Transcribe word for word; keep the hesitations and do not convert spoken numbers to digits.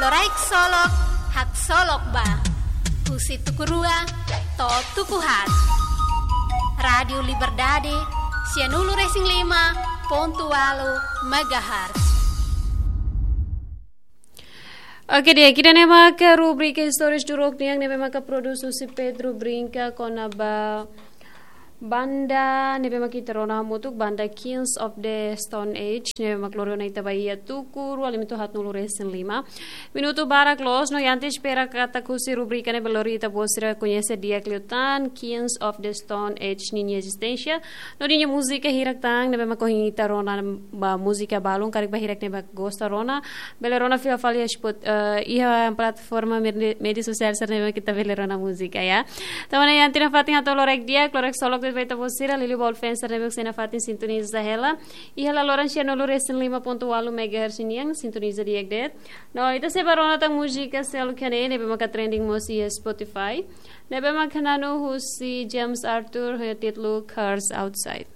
Loraik Solok, Haksolok Ba. Husi tuku rua to'o tuku haat. Rádiu Liberdade, sianulu-resin-lima pontu ualu megahertz. Oke, di'ak, ida-ne'e maka rubrika Istórias Duruk nian ne'ebé maka produs husi Pedro Brinca kona-ba banda ne'ebé maka ita rona hamutuk, banda Kings of the Stone Age, ne'ebé maka lori ona ita ba iha tuku rua lima to'o haatnulu-resin-lima. Minutu barak loos, no ita espera katak husi rubrika ne'e bele lori ita-boot sira koñese di'ak liután Kings of the Stone Age ninia ezisténsia no ninia múzika hirak tan ne'ebé maka ohin ita rona ba múzika balun, karik ba hirak ne'ebé gosta rona, bele rona fila fali iha Spot-, eh, iha plataforma medi-, média sosiál sira ne'ebé ita bele rona múzika, ya. Tanba ne'e iha ita-nia fatin hato'o loraik di'ak, loraik solok de'it ba ita-boot sira, liuliu ba all fans sira ne'ebé sei iha fatin sintoniza hela. Iha laloran sianulu-resin-lima pontu ualu megahertz nian, sintoniza di'ak de'it. No ita sei bá rona tan múzika seluk iha ne'e, ne'ebé maka trending mós iha Spotify. Ne'ebé maka na'an husi James Arthur, ho títulu Cars Outside.